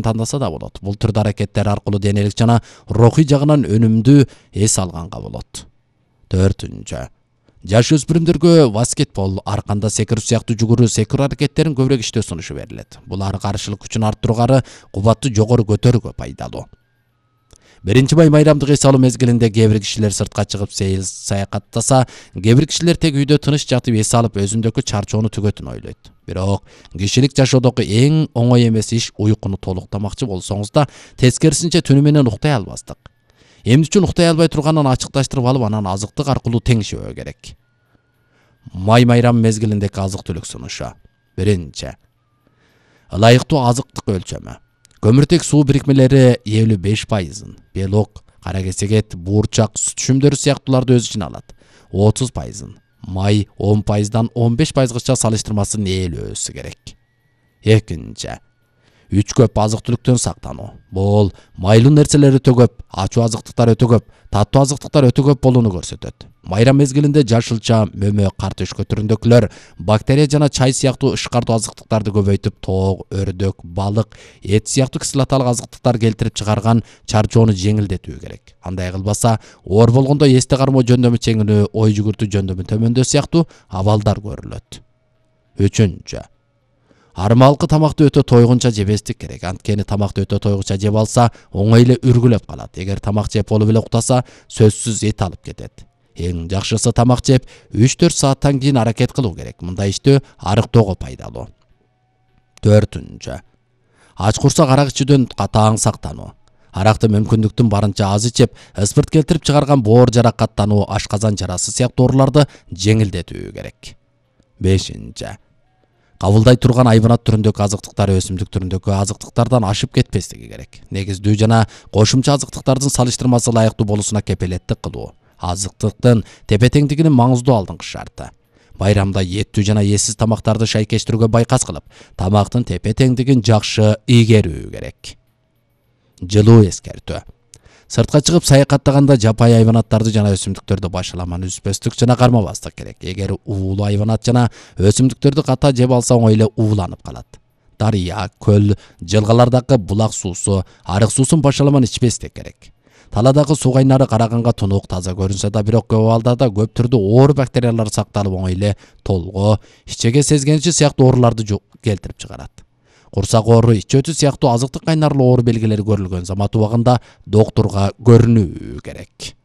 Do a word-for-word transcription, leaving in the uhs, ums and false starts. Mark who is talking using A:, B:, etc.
A: тандаса да болот. Бул түрдүү аракеттер аркылуу денелик жана рухий жагынан өнүмдүү эс алганга болот. Төртүнчү. Жаш өспүрүмдөргө баскетбол, арканда секирүү сыяктуу жүгүрүү секирүү аракеттерин көбүрөөк иштөө сунушу берилет. Булар каршылык күчүн арттырууга, кубатты жогору көтөрүүгө пайдалуу. Биринчи май майрамдык эс алуу мезгилинде кээ бир кишилер сыртка чыгып сейил саякаттаса, кээ бир кишилер тек үйдө тыныч жатып эс алып өзүндөгү чарчоону түгөтүн ойлойт. Бирок кишилик жашоодогу эң оңой эмес иш уйкуну толуктамакчы болсоңуз да, тескерисинче түнү менен уктай албастык. Эмне үчүн уктай албай турганын ачыкташтырып алып, анан азыктык аркылуу теңшебөө керек. Май майрам мезгилиндеги азык-түлүк сунушу. Биринчи. Ылайыктуу азыктык өлчөмү. Көмүртек суу бирикмелери элүү беш пайызын, белок, кара кесегет, буурчак, сүт түшүмдөрү сыяктууларды өз ичине алат. отуз пайызын, май он пайыздан он беш пайызгача салыштырмасын ээлүү өсү керек. Экинчи. Үч көп азык-түлүктөн сактануу. Бул майлуу нерселер өтө көп, ачуу азыктыктар өтө көп, таттуу азыктыктар өтө көп болууну көрсөтөт. Майрам мезгилинде жашылча, мөмө, картөшкө түрүндөгүлөр, бактерия жана чай сыяктуу ышкартуу азыктыктарды көбөйтүп, тоок, өрдөк, балык, эт сыяктуу кислоталык азыктыктар келтирип чыгарган чарчоону жеңилдетүү керек. Андай кылбаса, оор болгондо эсте кармоо жөндөмү чеңинүү, ой жүгүртүү жөндөмү төмөндөө сыяктуу абалдар көрүлөт. Үчүнчү. Армалкы тамакты өтө тойгунча жебестик керек. Анткени тамакты өтө тойгунча жеп алса, оңой эле үргүлөп калат. Эгер тамак жеп болуп эле уктаса, сөзсүз эт алып кетет. Эң жакшысы тамак жеп үч төрт сааттан кийин аракет кылуу керек. Мындай иштөө арыктоого пайдалуу. Төртүнчү. Ач курсак арак ичүүдөн катаң сактануу. Аракты мүмкүндүктүн барынча аз ичип, спирт келтирип чыгарган боор жаракаттануу, ашказан жарасы сыяктуу ооруларды жеңилдетүү керек. Бешинчи. Кабылдай турган айбанат түрүндөгү азыктыктар өсүмдүк түрүндөгү азыктыктардан ашып кетпестиги керек. Негиздүү жана кошумча азыктыктардын салыштырмасы ылайыктуу болуусуна кепилеттик кылуу. Азыктыктын тепе-теңдигинин маңыздуу алдыңкы шарты. Байрамда еттүү жана эсиз тамактарды шайкештирүүгө байкас кылып, тамактын тепе-теңдигин жакшы ийгерүү керек. Жылуу эскертүү. Сыртка чыгып саякаттаганда жапайы айванаттарды жана өсүмдүктөрдү башаламан үзбөстүк жана кармабастык керек. Эгер уулуу айванат жана өсүмдүктөрдү ката жеп алса, оңой эле ууланып калат. Дарыя, көл, жылгалардагы булак суусу, арык суусун башаламан ичпестик керек. Таладагы суу кайнары караганга тунук, таза көрүнсө да, бирок көп абалдарда көп түрдүү оор бактериялар сакталып, оңой эле толго, ичеге сезгенчи сыяктуу ооруларды келтирип чыгарат. Курсак оору, ич өтү сыяктуу азыктык кайнарлуу оору белгилери көрүлгөн замат убагында доктурга көрүнүү керек.